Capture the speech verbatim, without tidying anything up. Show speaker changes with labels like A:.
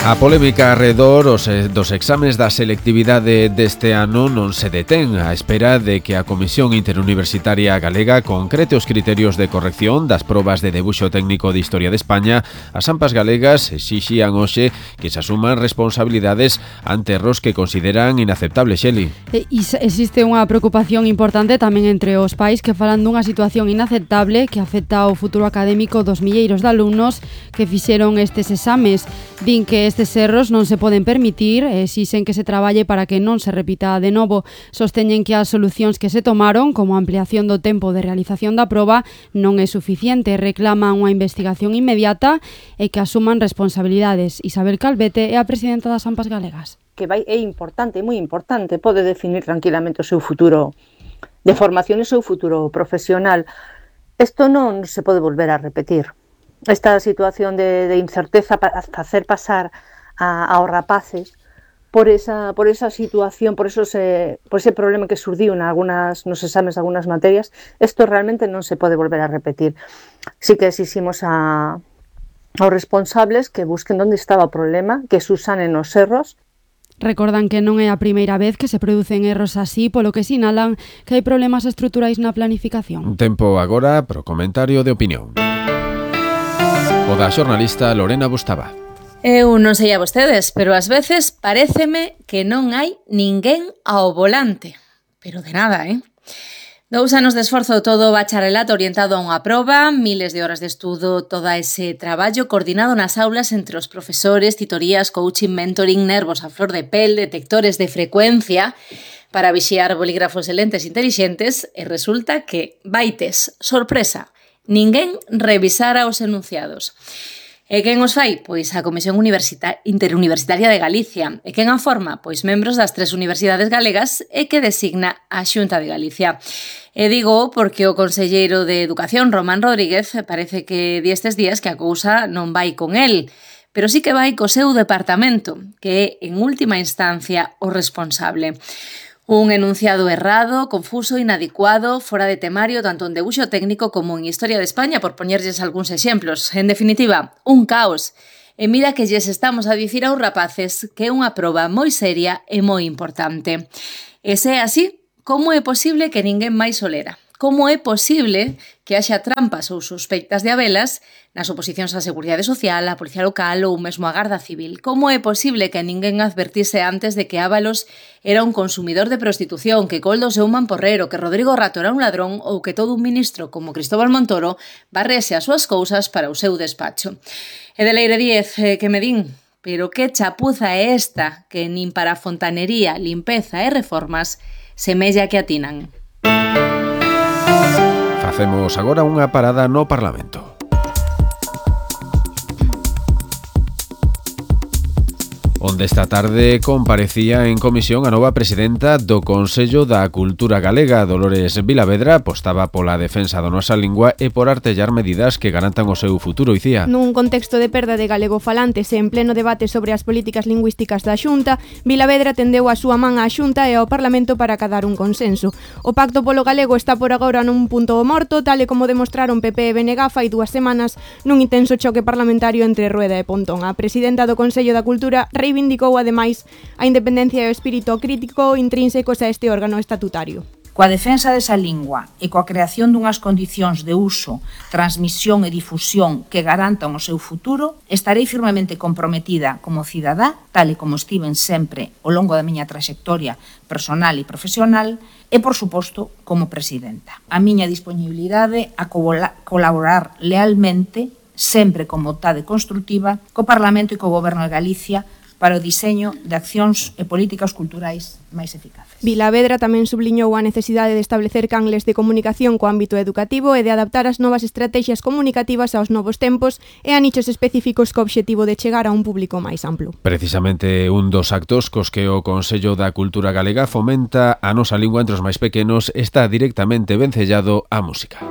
A: A polémica arredor os, dos exames da selectividade deste ano non se detén á espera de que a Comisión Interuniversitaria Galega concrete os criterios de corrección das probas de debuxo técnico de Historia de España. As AMPAs galegas exixían hoxe que se asuman responsabilidades ante erros que consideran inaceptables, Xeli.
B: E existe unha preocupación importante tamén entre os pais que falan dunha situación inaceptable que afecta ao futuro académico dos milleiros de alumnos que fixeron estes exames. Din que estes erros non se poden permitir e exixen que se traballe para que non se repita de novo. Sosteñen que as solucións que se tomaron, como a ampliación do tempo de realización da proba, non é suficiente. Reclaman unha investigación inmediata e que asuman responsabilidades. Isabel Calvete é a presidenta das AMPAs galegas.
C: Que vai, é importante, moi importante, pode definir tranquilamente o seu futuro de formación e o seu futuro profesional. Isto non se pode volver a repetir. Esta situación de, de incerteza para facer pasar a, aos rapaces por esa, por esa situación, por, esos, eh, por ese problema que surdiu en algunas, nos exames de algunas materias, isto realmente non se pode volver a repetir. Sí que exiximos a, aos responsables que busquen onde estaba o problema, que susanen os erros.
B: Recordan que non é a primeira vez que se producen erros así, polo que sinalan que hai problemas estruturais na planificación.
A: Un tempo agora pro comentario de opinión. O da xornalista Lorena Bustaba.
D: Eu non sei a vostedes, pero ás veces paréceme que non hai ninguén ao volante. Pero de nada, eh? Dous anos de esforzo, todo o bacharelato orientado a unha proba, miles de horas de estudo, todo ese traballo coordinado nas aulas entre os profesores, titorías, coaching, mentoring, nervos a flor de pel, detectores de frecuencia para vixiar bolígrafos e lentes intelixentes, e resulta que, vaites, sorpresa, ninguén revisara os enunciados. E quen os fai? Pois a Comisión Universita- Interuniversitaria de Galicia. E quen a forma? Pois membros das tres universidades galegas e que designa a Xunta de Galicia. E digo porque o conselleiro de Educación, Román Rodríguez, parece que di estes días que a cousa non vai con el, pero sí que vai co seu departamento, que é, en última instancia, o responsable. Un enunciado errado, confuso, inadecuado, fora de temario, tanto en debuxo técnico como en Historia de España, por poñerlles algúns exemplos. En definitiva, un caos. E mira que lles estamos a dicir aos rapaces que é unha proba moi seria e moi importante. E se é así, como é posible que ninguén máis o lera? Como é posible que haxa trampas ou sospeitas de habelas nas oposicións á Seguridade Social, á Policía Local ou mesmo á Garda Civil? Como é posible que ninguén advertise antes de que Ábalos era un consumidor de prostitución, que Coldo seu mamporrero, que Rodrigo Rato era un ladrón ou que todo un ministro como Cristóbal Montoro barrese as súas cousas para o seu despacho? E de Leire Díez, eh, que me din, pero que chapuza é esta que nin para fontanería, limpeza e reformas semella que atinan?
A: Facemos agora unha parada no Parlamento. Onde esta tarde comparecía en comisión a nova presidenta do Consello da Cultura Galega, Dolores Vilavedra, apostaba pola defensa da nosa lingua e por artellar medidas que garantan o seu futuro, Icía.
E: Nun contexto de perda de galegofalantes e en pleno debate sobre as políticas lingüísticas da Xunta, Vilavedra tendeu a súa man á Xunta e ao Parlamento para acadar un consenso. O pacto polo galego está por agora nun punto morto, tal e como demostraron P P e B N G fai dúas semanas nun intenso choque parlamentario entre Rueda e Pontón. A presidenta do Consello da Cultura reivindicou ademais a independencia e o espírito crítico intrínsecos a este órgano estatutario.
F: Coa defensa desa lingua e coa creación dunhas condicións de uso, transmisión e difusión que garantan o seu futuro, estarei firmemente comprometida como cidadá, tal e como estiven sempre ao longo da miña traxectoria personal e profesional, e, por suposto, como presidenta. A miña disponibilidade a colaborar lealmente, sempre con vontade constructiva, co Parlamento e co Goberno de Galicia para o diseño de accións e políticas culturais máis eficaces.
E: Vilavedra tamén subliñou a necesidade de establecer canles de comunicación co ámbito educativo e de adaptar as novas estrategias comunicativas aos novos tempos e a nichos específicos co obxectivo de chegar a un público máis amplo.
A: Precisamente un dos actos cos que o Consello da Cultura Galega fomenta a nosa lingua entre os máis pequenos está directamente vencellado á música.